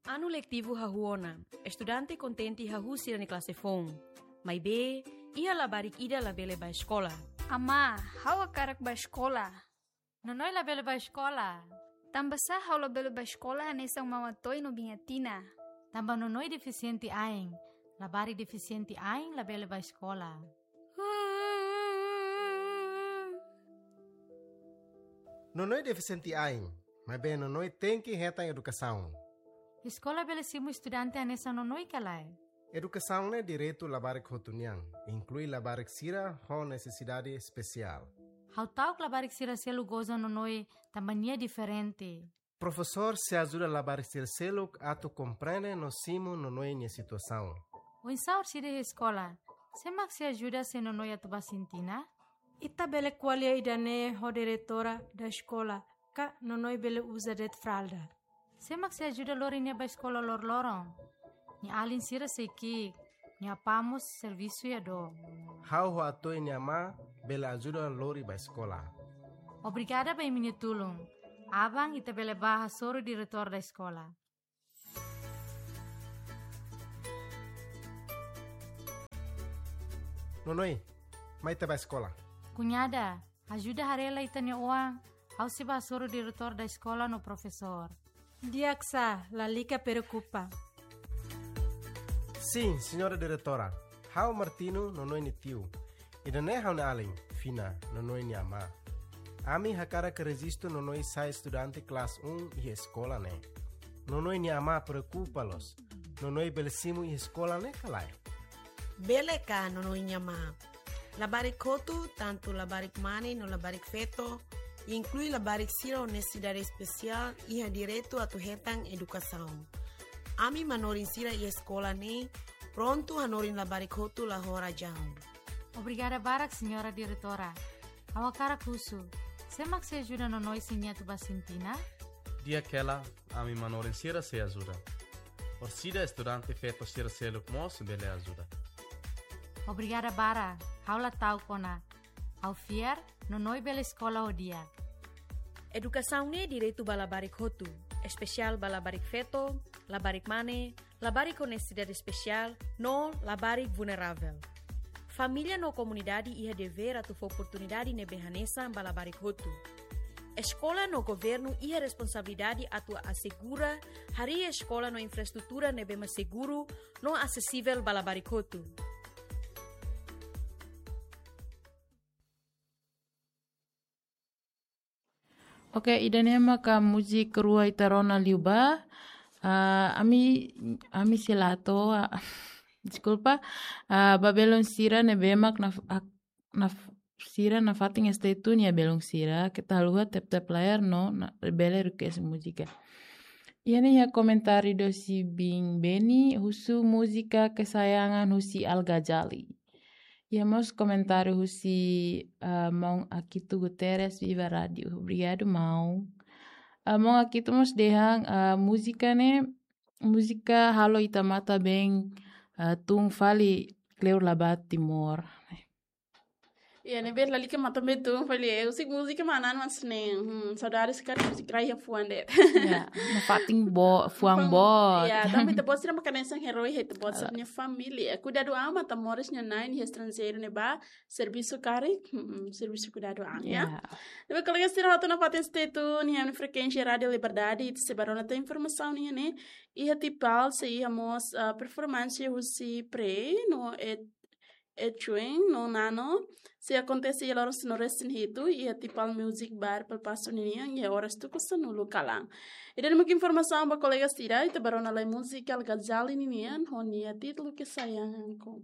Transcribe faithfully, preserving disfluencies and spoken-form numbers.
Anu letivu hahú ona, estudante kontente hahú sira-nia klase foun. Maibé, iha labarik ida labele bá eskola. Amá, ha'u hakarak bá eskola. Nonoi labele bá eskola. Tanbasá ha'u labele bá eskola hanesan Maun Atoy no Biin Atina? Tanba Nonoi defisiente ain. Labarik defisiente ain labele bá eskola. Nonoi defisiente ain, maibé Nonoi tenke hetan edukasaun. Eskola bele simu estudante hanesan Nonoi ka lae? Edukasaun ne'e direitu labarik hotu nian, inklui labarik sira ho nesesidade espesiál. Ha'u ta'uk labarik sira seluk goza Nonoi tanba nia diferente. Profesór sei ajuda labarik sira seluk atu komprende no simu Nonoi nia situasaun. Oinsá orsida iha eskola? Sé mak sei ajuda se Nonoi atu bá sintina? Ita bele ko'alia ida-ne'e ho diretora da eskola, ka Nonoi bele uza de'it fralda. Sé mak sei ajuda lori nia bá eskola loroloron? Nia alin sira sei ki'ik, nia apá mós servisu iha dook. Ha'u ho Atoy nia amá bele ajuda lori bá eskola. Obrigada ba imi-nia tulun. Aban ita bele bá hasoru diretór da eskola. Nonoi, mai ita bá eskola. Kuñada, ajuda haree lai ita-nia oan, ha'u sei bá hasoru diretór da eskola no profesór. Di'ak sá, lalika preokupa. Sin, señora diretora. Ha'u Martino, Nonoi nia tiu. Ida-ne'e ha'u-nia alin, Fina, Nonoi nia amá. Ami hakarak rejistu Nonoi sai estudante klase um iha eskola ne'e. Nonoi nia amá preokupa loos. Nonoi bele simu iha eskola ne'e ka lae? Bele ka, Nonoi nia amá? Labarik hotu, tantu labarik mane no labarik feto, inklui labarik sira ho nesesidade espesiál, iha direitu atu hetan edukasaun. Ami manorin sira iha eskola ne'e prontu hanorin labarik hotu la ho razaun. Obrigada barak, señora diretora. Ha'u hakarak husu, sé mak sei ajuda Nonoi se nia atu bá sintina? Di'ak hela, ami manorin sira sei ajuda. Orsida estudante feto sira seluk mós bele ajuda. Obrigada barak, ha'u la ta'uk ona. Ha'u fiar, Nonoi bele eskola ho di'ak. Edukasaun ne'e direitu ba labarik hotu, espesiál ba labarik feto, labarik mane, labarik ho nesesidade espesiál, no labarik vulneravel. Família no komunidade iha devér atu fó oportunidade ne'ebé hanesan ba labarik hotu. Eskola no governu iha responsabilidade atu asegura harii eskola no infraestrutura ne'ebé mak seguru no asesivel ba labarik hotu. Oke, ida-ne'e maka múzika rua ita rona liubá. Ah, ami, ami sei la hato'o, ah, deskulpa. Ah, ba belun sira ne'ebé mak na, ah, na, sira nafatin stay tune iha belun sira. Keta haluha tap-tap layar no, na, bele request múzika. Iha ne'e iha komentáriu husi Biin Beni, husu múzika kesayangan husi Al Ghazali. Iha mós komentáriu husi, ah, Maun Akito Guterres, Viva Rádio. Obrigadu, Maun. Ah, Maun Akito mós dehan, ah, múzika ne'e, múzika halo ita matan-been, ah, tun fali kleur la bá Timor. Iha ne'ebé lalika matan-been tun fali, eh, husi múzika manan mas ne'e, hmm, saudades sekali múzika rai iha fuan de'it. Ya, nafatin boot, fuan boot. Ya, tanba ita-boot sira maka hanesan herói iha ita-boot sira-nia família. Kuidadu an, matan-moris nia na'in iha estranjeiru ne'ebá servisu karik, hmm, servisu kuidadu an, ya. Ya. Ne'ebé kolega sira hotu nafatin stay tune iha frekuénsia Rádio Liberdade, ita sei bá rona tan informasaun nian ne'e, iha Tipal sei iha mós, ah, performansa husi Pre, no Ed, Edwin, no Nano, sei akontese iha loron sanulu-resin-hitu, iha Tipal Music Bar Palpaso ninian, iha oras tuku sanulu kalan. Ida-ne'e mak informasaun ba kolega sira, ita bá rona lai múzika Al Ghazali ninian, ho nia títulu Kesayanganku.